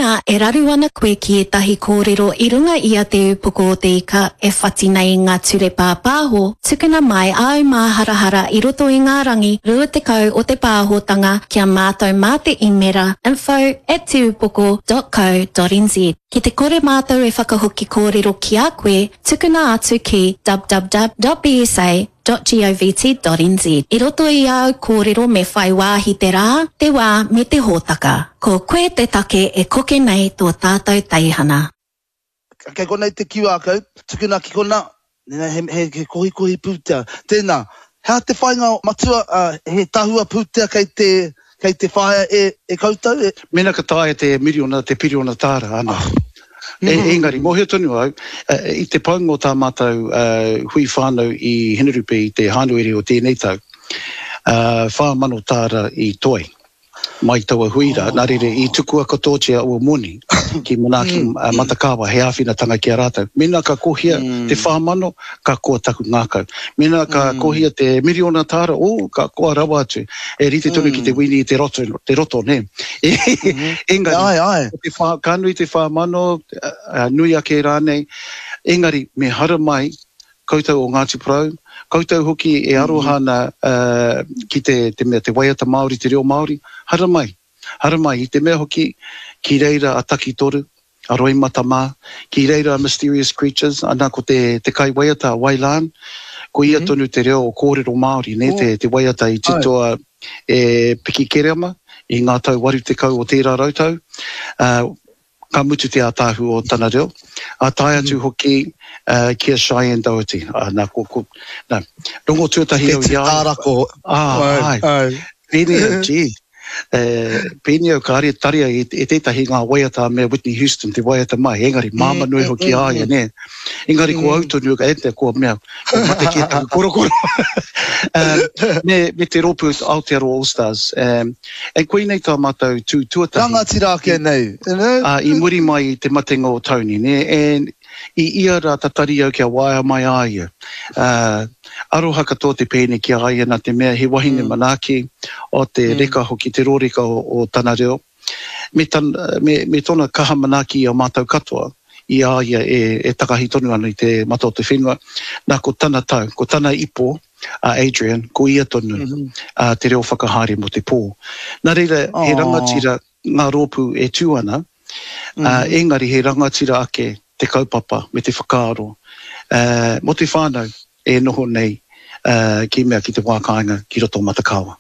Mēnā e raru ana koe ki ētahi kōrero i runga i a Te Ūpoko o Te Ika e whati nei i ngā ture pāpāho, tukuna mai āu māharahara i roto i ngā rangi 20 o te pāhotanga ki a mātou mā te īmera info at teupoko dot co dot nz. Ki te kore mātou e whakahoki kōrero ki a koe, tukuna atu ki www.bsa .govt.nz. I roto i āu kōrero me whai wāhi te rā, te wā me te hōtaka. Ko koe te take e koke nei tō tātou teihana. Kei konei te QR code, tukuna ki kona, he, he, he kohikohi pūtea. Tēnā, he aha te whāinga matua, he tahua pūtea kei te, kei te whāia e, e koutou? E... Mēnā ka taea te miriona, te piriona tāra, ana. E, engari, mōhio tonu au, i te paunga o tā mātou hui whānau i Hinerupe i te Hānuere o tēnei tau, 4,000 tāra i toe mai taua hui rā, nā reira i tukua katoatia aua moni ki Manaaki Matakāwa hei āwhinatanga ki a rātou. Mēnā ka kohia te 4,000, ka koa taku ngākau. Mēnā ka kohia te miriona tāra, oh, ka koa rawa atu. E rite tonu ki te wini i te roto, te roto, nē. Engari, Ai, ai. ko te whā, ka nui te 4,000, nui ake rānei, engari me haramai koutou o Ngāti Porou, koutou hoki e aroha ana ki te, te mea, te waiata Māori, te reo Māori, haramai, haramai, i te mea hoki ki reira a Takitoru, a Roimata mā, ki reira a Mysterious Creatures, ana ko te, te kaiwaiata a Wailan, ko ia tonu te reo o kōrero Māori, nē, te, te waiata i titoa e Piki Kereama i ngā tau 80 o tērā rautau, ā, ka mutu te ātaahu o tana reo, ā, tae atu hoki ki a Cheyenne Doherty, ā, nā, ko, ko, nā, rongo tuatahi au i a ia. Te tārako. Ā, āe. Āe. Pēnei au, gee, e, pēnei au kāre taria e, e tētahi ngā waiata me Whitney Houston te waiata mai, engari māmā nui hoki a ia, nē. Engari ko au tonu, e te, kua mea, kua mate kē taku korokoro. um, me, me te rōpū Aotearoa All Stars. Um, and koinei tā mātou tū tuatahi. Rangatira ake nei, you know? Uh, I muri mai i te matenga o Tony, nē, and I ia rā tatari au kia waea mai a ia. Ā, aroha katoa te pēne ki a ia nā te mea he wahine manaaki, o te reka hoki, te rōreka o, o tana reo, me tana, me, me tōna kaha manaaki i a mātou katoa i a ia e, e takahi tonu ana i te mata o te whenua. Nā, ko tana tau, ko tana ipo, a Adrian, ko ia tonu ā, te reo whakahaere mō te pō. Nā reira, he rangatira ngā rōpū e tū ana, ā, engari he rangatira ake te kaupapa me te whakaaro mō te whānau e noho nei ki mea ki te wā kāinga ki roto o Matakaoa.